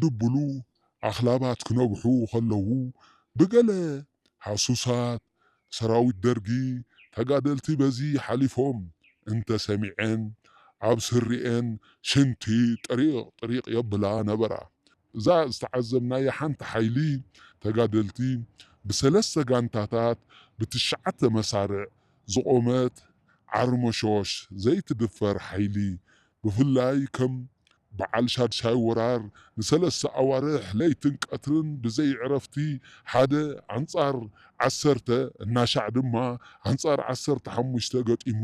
ድብሉ ኣኽላባት ክነብሑ ከለዉ ብገለ ሃሱሳት ሰራዊት ደርጊ ተጋደልቲ በዚ ሓሊፎም እንተሰሚዐን ኣብ ስሪኤን ሽንቲ ጥሪቕ ጥሪቕ የብላ ነበራ። እዛ ዝተዓዘብናያ ሓንቲ ሓይሊ ተጋደልቲ ብሰለስተ ጋንታታት ብትሽዓተ መሳርዕ ዝቖመት ዓርመሾሽ ዘይትድፈር ሓይሊ ብፍላይ ከም በዓል ሻድሻይ ወራር ንሰለስተ ኣዋርሕ ለይትን ቀትርን ብዘይ ዕረፍቲ ሓደ ኣንጻር ዓሰርተ እናሻዕ ድማ ኣንጻር ዓሰርተ ሓሙሽተ ገጢሙ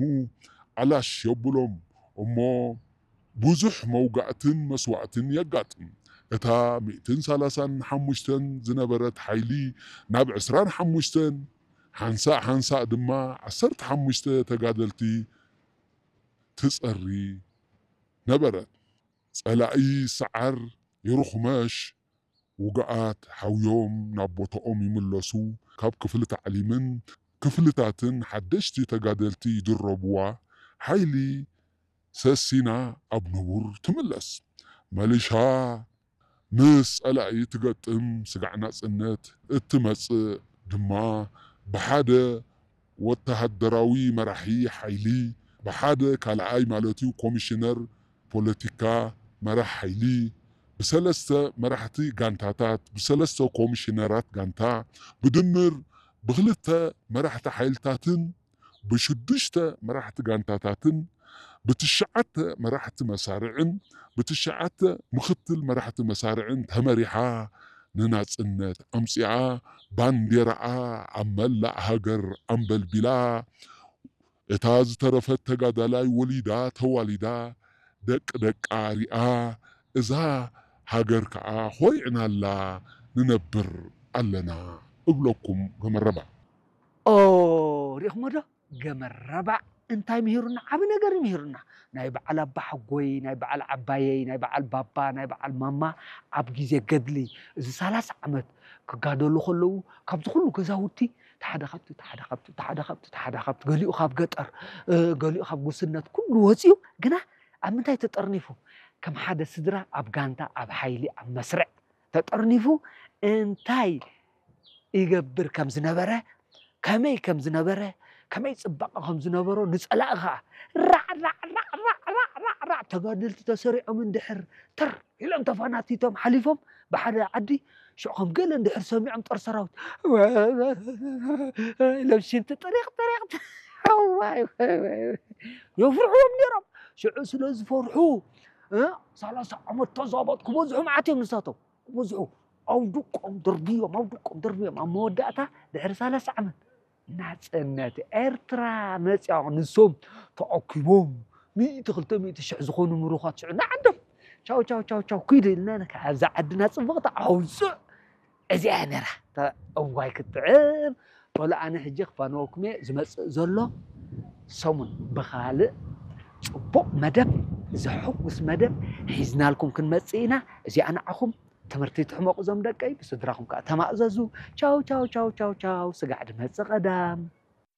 ኣላሽ የብሎም እሞ ብዙሕ መውጋእትን መስዋእትን የጋጥም። እታ ሚእትን ሰላሳን ሓሙሽተን ዝነበረት ሓይሊ ናብ ዕስራን ሓሙሽተን ሓንሳእ ሓንሳእ ድማ ዓሰርተ ሓሙሽተ ተጋደልቲ ትጸሪ ነበረት። ጸላኢ ሰዓር ይርኹመሽ፣ ውጉኣት ሓውዮም ናብ ቦታኦም ይምለሱ፣ ካብ ክፍሊ ታዕሊምን ክፍልታትን ሓደሽቲ ተጋደልቲ ይድረብዋ፣ ሓይሊ ሰሲና ኣብ ንቡር ትምለስ። መሊሻ ምስ ጸላኢ ትገጥም፣ ስጋዕ ናጽነት እትመጽእ ድማ ብሓደ ወተሃደራዊ መራሒ ሓይሊ፣ ብሓደ ካልኣይ ማለት እዩ ኮሚሽነር ፖለቲካ መራሕ ሓይሊ፣ ብሰለስተ መራሕቲ ጋንታታት፣ ብሰለስተ ኮሚሽነራት ጋንታ፣ ብድምር ብክልተ መራሕቲ ሓይልታትን ብሽዱሽተ መራሕቲ ጋንታታትን ብትሽዓተ መራሕቲ መሳርዕን ብትሽዓተ ምኽትል መራሕቲ መሳርዕን ተመሪሓ ንናጽነት ኣምጺኣ፣ ባንዴራኣ ኣብ መላእ ሃገር ኣንበልቢላ፣ እታ ዝተረፈት ተጋዳላይ ወሊዳ ተዋሊዳ፣ ደቂ ደቃ ሪኣ፣ እዛ ሃገር ከኣ ኾሪዕናላ ንነብር ኣለና እብለኩም ገመረባ። ኦ ሪእኹሞ ዶ? ገመረባ እንታይ ምሂሩና? ዓቢ ነገር ምሂሩና። ናይ በዓል ኣባ ሓጎይ፣ ናይ በዓል ዓባየይ፣ ናይ በዓል ባባ፣ ናይ በዓል ማማ ኣብ ግዜ ገድሊ እዚ ሰላሳ ዓመት ክጋደሉ ከለዉ ካብዚ ኩሉ ገዛውቲ ተሓደ ካብቲ ተሓደ ካብቲ ተሓደ ካብቲ ተሓደ ካብቲ ገሊኡ ካብ ገጠር እ፣ ገሊኡ ካብ ጉስነት ኩሉ ወፂኡ ግና ኣብ ምንታይ ተጠርኒፉ? ከም ሓደ ስድራ ኣብ ጋንታ ኣብ ሓይሊ ኣብ መስርዕ ተጠርኒፉ እንታይ ይገብር ከም ዝነበረ ከመይ ከም ዝነበረ ከመይ ፅባቐ ከም ዝነበሮ ንፀላኢ ከዓ ራዕ ራዕ ራዕ ራዕ ራዕ ራዕ ራዕ ተጋደልቲ ተሰሪዖም እንድሕር ተር ኢሎም ተፈናቲቶም ሓሊፎም ብሓደ ዓዲ ሽዑ ከም ገለ እንድሕር ሰሚዖም ጦር ሰራዊት ኢሎም ሽንቲ ጥሪቕ ጥሪቕ ዋይ ዋይ ዋይ የፍርሕዎም ነይሮም። ሽዑ ስለ ዝፈርሑ እ፣ ሰላሳ ዓመት ተዛበጥ ክበዝሑ መዓት እዮም ንሳቶም ክበዝሑ ኣውድቆም ደርብዮም ኣውድቆም ደርብዮም ኣብ መወዳእታ ድሕሪ ሰላሳ ዓመት ናፅነት ኤርትራ መፅያ ንሶም ተኣኪቦም ሚእቲ ክልተ ሚእቲ ሽሕ ዝኾኑ ምሩኻት ሽዑ ንዓዶም ቻው ቻው ቻው ቻው ኪዱ ኢልና ነካ ኣብዛ ዓድና ፅብቕቲ ኣውፅእ እዚኣ ነራ እታ እዋይ ክትጥዕም በሉ ኣነ ሕጂ ክፋነወኩም እየ ዝመፅእ ዘሎ ሰሙን ብኻልእ ፅቡቕ መደብ ዘሐጉስ መደብ ሒዝናልኩም ክንመፅእ ኢና እዚኣ ንዓኹም ትምህርቲ ትሕመቑ ዞም ደቀይ ብስድራኹም ከዓ ተማእዘዙ ቻው ቻው ቻው ቻው ቻው ስጋዕ ድመፅእ ቀዳም